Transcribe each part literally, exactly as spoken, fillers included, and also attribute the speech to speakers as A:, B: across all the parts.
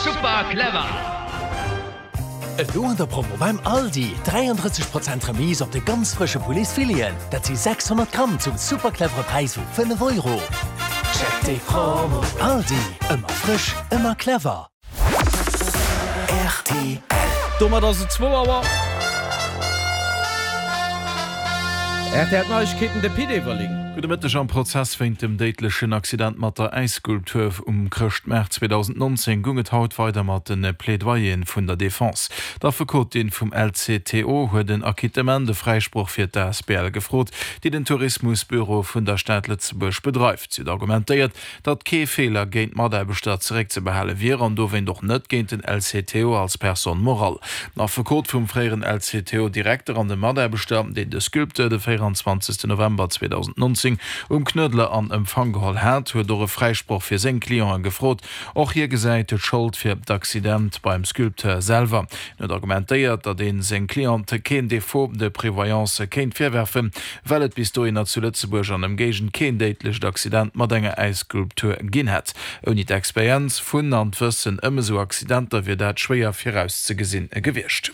A: Super clever!
B: Elo an der Promo beim Aldi, dräiandrësseg Prozent Remise op de ganz frësche Pouletsfileten, dat si sechshonnert Gramm zum super clevere Präis vu fënnef Euro. Check déi Promo! Aldi, ëmmer frësch, ëmmer clever.
C: R T L. Domat ass et zwou Auer. R T L Neiegkeeten, de Pit Everling.
D: Gudde Mëtteg, Am Prozess wéint dem déidlechen Accident mat der Äisskulptur um Chrëschtmaart zweedausendnonzéng goung et haut weider mat de Plaidoyeren vun der Defense. D'Affekotin vum L C T O huet en Acquittement, e Fräisproch fir d'A S B L gefrot, déi den Tourismusbüro vun der Stad Lëtzebuerg bedreift. Si huet argumentéiert, datt kee Feeler géint d'Mataarbechter zeréckzebehale wier an dowéint och net géint den L C T O als Personne morale. Den Affekot vum fréieren L C T O-Direkter an de Mataarbechter, deen de Sculpteur de véierundzwanzegste November zweedausendnonzéng um Knuedler an Empfang geholl hat, huet och e Fräisproch fir seng Cliente gefrot. Och hie gesäit d'Schold fir d'Accident beim Sculpteur selwer. Hien huet argumentéiert, datt ee seng Cliente keen Défaut de prévoyance kéint virwerfen, well et bis dohinner zu Lëtzebuerg an Ëmgéigend keen déidlecht Accident mat enger Äisskulptur ginn hätt. Ouni d'Experienz vun an d'Wëssen ëm esou Accidenter wier dat schwéier virauszegesinn gewiescht.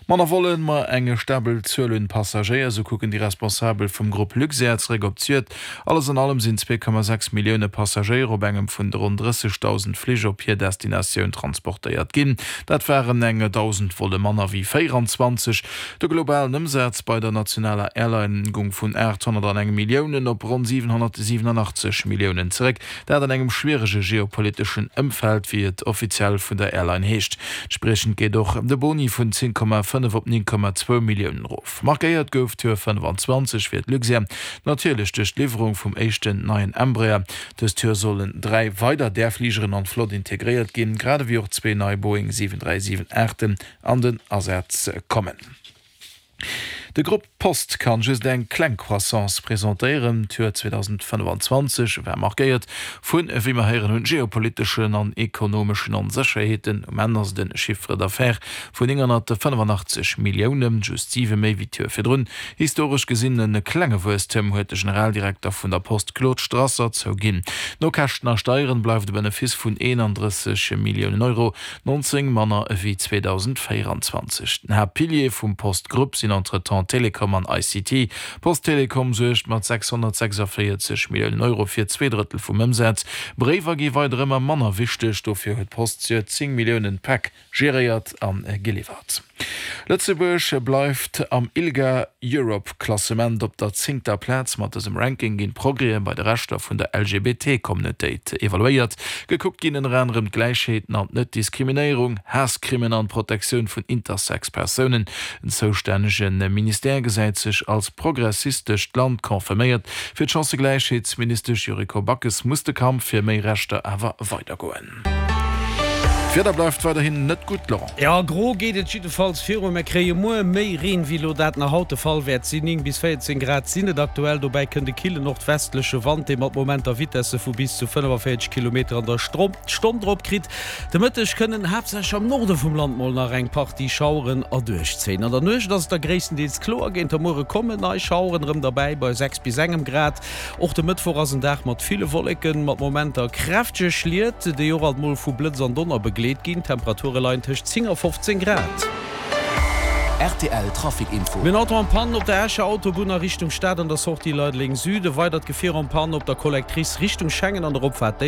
D: Manner Vollen, ma eng stabel Zuel un Passagéier, esou kucken déi Responsabel vum Grupp Luxair zeréck op d'Zuel. Alles an allem sinn zwee Komma sechs Millioune Passagéier op engem vun de ronn drëssegdausend Flich op hir Destinatioun transportéiert ginn. Dat waren eng dausend Volle manner wéi véieranzwanzeg. De globalen Ëmsaz bei der nationaler Airline goung vun aathonnerteng Milliounen op ronn siwenhonnertsiwenunachtzeg Milliounen zeréck, dat an engem schwierege geopoliteschen Ëmfeld, wéi et offiziell vun der Airline heescht. Entspriechend geet och de Boni vun zéng Komma fënnef op néng Komma zwou Milliounen erof. Markéiert gouf d'Joer fënnefanzwanzeg fir d'Luxair natierlech duerch d'Liwwerung vum éischten neien Embraer. Dëst Joer sollen dräi weider där Fligeren an d'Flott integréiert ginn, grad ewéi och zwee nei Boeing siwen dräi siwen aachten an den Asaz kommen. De Grupp Post kann just eng kleng Croissance presentéieren. D'Joer zweedausendfënnefanzwanzeg war markéiert vun, wéi mer héieren hunn, geopoliteschen an ekonomeschen Onsécherheeten. Um Enn ass et e Chiffre d'affaires vun nénghonnertfënnefanachtzeg Milliounen, just siwe méi wéi d'Joer virdrun. Historesch gesinn e klenge Wuesstem, huet de Generaldirekter vun der Post Claude Strasser zouginn. No Käschten a Steieren bleift e Benefice vun eenandrësseg Milliounen Euro, nonzéng manner ewéi zweedausendvéieranzwanzeg. Den Haaptpilier vum Post-Grupp sinn entretemps Telekom an I C T. Post Telekom suergt mat sechshonnertsechsundvéierzeg Milliounen Euro fir zwee Drëttel vum Ëmsaz. Bréiwer gi weider ëmmer manner wichteg, dofir huet d'Post d'Joer zéng Milliounen Päck geréiert a geliwwert. Lëtzebuerg bleift am ILGA Europe Klassement op der zéngter Plaz. Mat dësem Ranking ginn d'Progrèse bei de Rechter vun der L G B T-Communautéit evaluéiert. Gekuckt ginn ënner anerem d'Gläichheet an d'Net-Diskriminéierung, Haasscrimen an d'Protektioun vun Intersex-Persounen. Den zoustännege Ministère gesäit sech als progressistescht Land confirméiert. Fir d'Chancëgläichheetsministesch Yuriko Backes muss de Kampf fir méi Rechter awer weidergoen. D'Wieder bleift weiderhin net gutt, Laurent.
C: Jo, gro geet et jiddefalls viru. Mir kréie muer méi Reen, wéi elo dat nach haut de Fall wäert sinn. Néng bis véierzéng Grad sinn et aktuell. Dobäi kënnt e killen nordwestleche Wand, dee mat Momenter Vitesse vu bis zu fënnefavéierzeg Kilometer an der Stonn drop kritt. De Mëtteg kënnen haaptsächlech am Norde vum Land mol nach eng Partie Schaueren erduerchzéien. An der Nuecht ass et da gréisstendeels kloer. Géint de Muere kommen nei Schaueren erëm derbäi bei sechs bis engem Grad. Och de Mëttwoch ass en Dag mat ville Wolleken, mat Momenter kräftege Schliet, déi och alt mol vu Blëtz an Donner begleet ginn. D'Temperature leien tëscht zéng a fofzéng Grad.
B: R T L Trafic Info.
C: Mir hunn Auto en Panne op der Escher Autobunn a Richtung Stad an der Sortie Leideleng Süd. E weidert Gefier en Panne op der Collectrice Richtung Schengen an der Opfaart Déifferdeng.